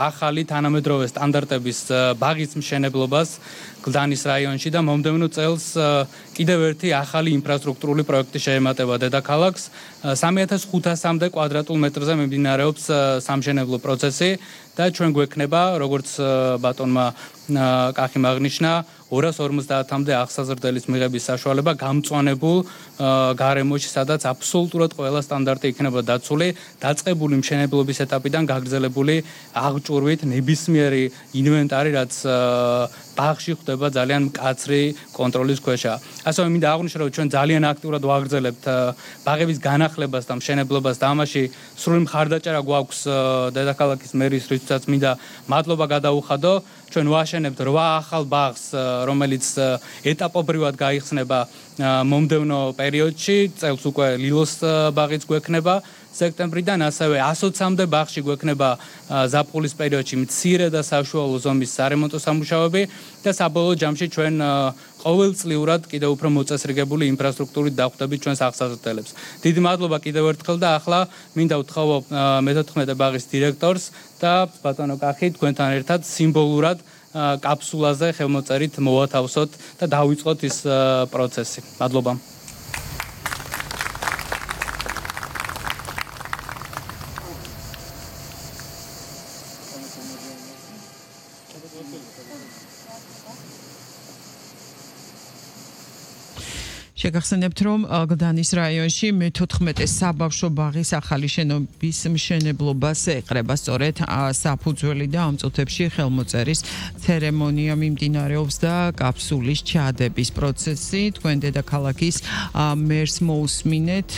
ახალი თანამედროვე სტანდარტების ბაღის მშენებლობას გლდანის რაიონში და მომდევნო წელს კიდევ ერთი ახალი ინფრასტრუქტურული პროექტი შეემატება დედაქალაქს. 3500-მდე კვადრატულ მეტრზე მიმდინარეობს სამშენებლო პროცესი და ჩვენ გვექნება, როგორც ბატონმა კახიმ აღნიშნა, 250-მდე აღსაზრდელის მიღების საშუალება გამწვანებულ გარემოში, სადაც აბსოლუტურად ყველა სტანდარტი იქნება დაცული, დაწყებული მშენებლობის ეტაპიდან გაგრძელებული აღჭურვით ნებისმიერი ინვენტარი, რაც ბაღში ხდება ძალიან მკაცრი კონტროლის ქვეშა. ასევე მინდა აღვნიშნო, რომ ჩვენ ძალიან აქტიურად ვაგრძელებთ ბაღების განახლებას და მშენებლობას და ამაში სრული მხარდაჭერა გვაქვს დედაქალაქის მერის, რითაც მინდა მადლობა გადაუხადო. ჩვენ ვაშენებთ 8 ახალ ბაღს, რომელიც ეტაპობრივად გაიხსნება მომდევნო პერიოდში, წელს უკვე ლილოს ბაღიც გვექნება სექტემბრიდან, ასევე 120-მდე ბაღში გვექნება ზაფხულის პერიოდში მცირე და საშუალო ზომის სარემონტო სამუშაოები და საბოლოო ჯამში ჩვენ ყოველწლიურად კიდევ უფრო მოწესრიგებული ინფრასტრუქტურით დავხვდებით ჩვენს აღსაზრდელებს. დიდი მადლობა კიდევ ერთხელ და ახლა მინდა ვთხოვო მე-14 ბაღის დირექტორს და ბატონო კახი თქვენთან ერთად სიმბოლურად კაფსულაზე ხელმოწერით მოვათავსოთ და დავიწყოთ ის პროცესი. მადლობა. შეგახსენებთ, რომ გლდანის რაიონში მე-14 საბავშვო ბაღის ახალი შენობის მშენებლობას ეყრება სწორედ საფუძველი და ამ წუთებში ხელმოწერის ცერემონია მიმდინარეობს და კაფსულის ჩადების პროცესი. თქვენ დედაქალაქის მერს მოусმინეთ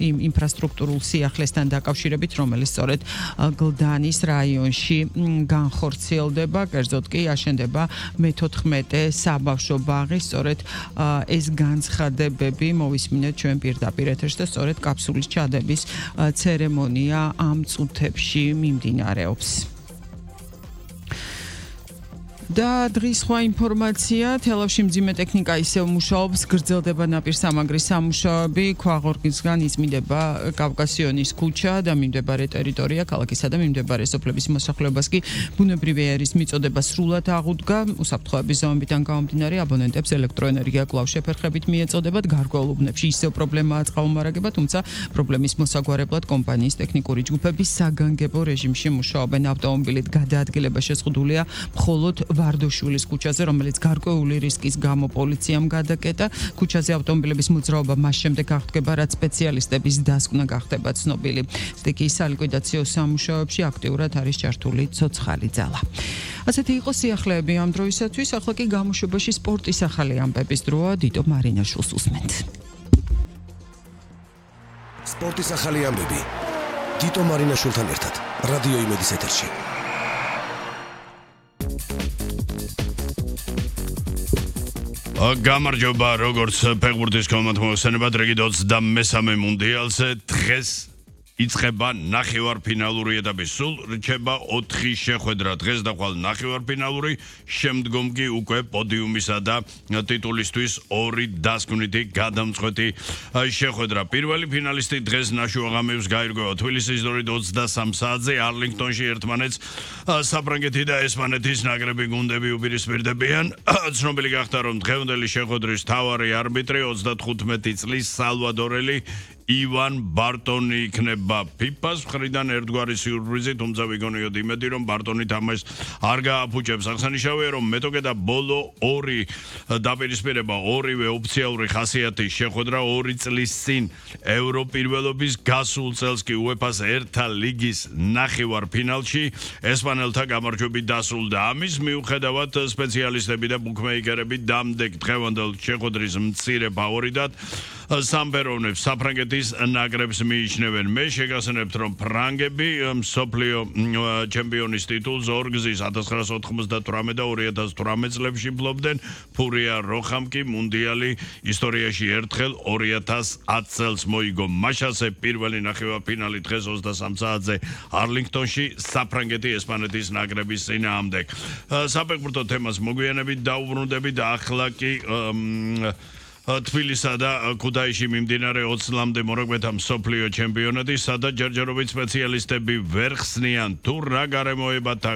იმ ინფრასტრუქტურულ სიახლესთან დაკავშირებით, რომელიც სწორედ გლდანის რაიონში განხორციელდება, კერძოდ კი აშენდება მე-14 საბავშვო ბაღი, სწორედ ეს განცხადება მოვისმინეთ ჩვენ პირდაპირ ეთერში და სწორედ კაფსულის ჩადების ცერემონია ამ წუთებში მიმდინარეობს. და დღის სხვა ინფორმაცია, თელავში მძიმე ტექნიკა ისევ მუშაობს, გრძელდება ნაპირსამაგრის სამუშაოები, ქვაღორგისგან იზმიდება კავკასიონის ქუჩა და მიმდებარე ტერიტორია, ქალაქისა და მიმდებარე სოფლების მოსახლეობას კი ბუნებრივი ერის მიწოდება სრულად აღუდგა, უსაფრთხოების ზომებიდან გამომდინარე აბონენტებს ელექტროენერგია კვლავ შეფერხებით მიეწოდებათ, გარკვეულ უბნებში ისევ პრობლემაა წყალმომარაგება, თუმცა პრობლემის მოსაგვარებლად კომპანიის ტექნიკური ჯგუფები საგანგებო რეჟიმში მუშაობენ. ავტომობილით გადაადგილება შეზღუდულია მხოლოდ ვარდოშვილის ქუჩაზე, რომელიც გარკვეული რისკის გამო პოლიციამ გადაკეტა. ქუჩაზე ავტომობილების მოძრაობა მას შემდეგ აღდგება, რაც სპეციალისტების დასკვნა გახდება ცნობილი. სტიქიის სალიკვიდაციო სამუშაოებში აქტიურად არის ჩართული ცოცხალი ძალა. ასეთი იყო სიახლეები ამ დროისათვის, ახლა კი გამოშვებაში სპორტის ახალი ამბების დროა, დიტო მარინაშვილს უსმენთ. სპორტის ახალი ამბები. დიტო მარინაშვილთან ერთად, რადიო იმედის ეთერში. გამარჯობა, როგორც ფეხბურთის კომანდმოხსენებად რეგით 23 მუნდიალზე დღეს იწყება ნახევარფინალური ეტაპი. სულ რჩება 4 შეხვედრა. დღეს დახვალ ნახევარფინალური, შემდგომ კი უკვე პოდიუმისა და ტიტულისთვის 2 დასკვნითი გადამწყვეტი შეხვედრა. პირველი ფინალისტი დღეს ნაშუაღამებს გაირკვევა თბილისის დორით 23 საათზე არლინგტონში ერთმანეთს საფრანგეთი და ესპანეთის ნაკრები გუნდები უპირისპირდებიან. ცნობილი გახდა, რომ დღევანდელი შეხვედრის მთავარი არბიტრი 35 წლის სალვადორელი ივან ბარტონი იქნება ფიფას მხრიდან ერთგვარი სიურპრიზი, თუმცა ვიგონიოთ იმედი, რომ ბარტონი თამაშს არ გააფუჭებს. აღსანიშნავია, რომ მეტოქე და ბოლო 2 დაპირისპირება, ორივე ოფიციალური ხასიათის შეხვედრა 2 წლის წინ ევროპირველობის გასულ წელს კი UEFA-ს ერთა ლიგის ნახევარფინალში ესპანელთა გამარჯვებით დასრულდა. ამის მიუხედავად სპეციალისტები და ბუკმეიკერები დამდეგ დღევანდელ შეხვედრის მცირე ფავორიტად სამპეროვნებს საფრანგეთის ნაკრებს მიიჩნევენ. მე შეგახსენებთ, რომ ფრანგები მსოფლიო ჩემპიონის ტიტულს ორგზის 1998 და 2018 წლებში ფლობდნენ. ფურია როხამ კი მუნდიალი ისტორიაში ერთხელ 2010 წელს მოიგო. მაშასე პირველი ნახევარფინალი დღეს 23 საათზე არლინგტონში საფრანგეთი ესპანეთის ნაკრების წინააღმდეგ. საფეხბურთო თემას მოგვიანებით დაუბრუნდებით და ახლა კი თბილისსა და ქუთაისში მიმდინარე 20-მდე მორაგბეთა მსოფლიო ჩემპიონატი, სადაც ჯერჯერობით სპეციალისტები ვერ ხსნიან თუ რა გარემოებათა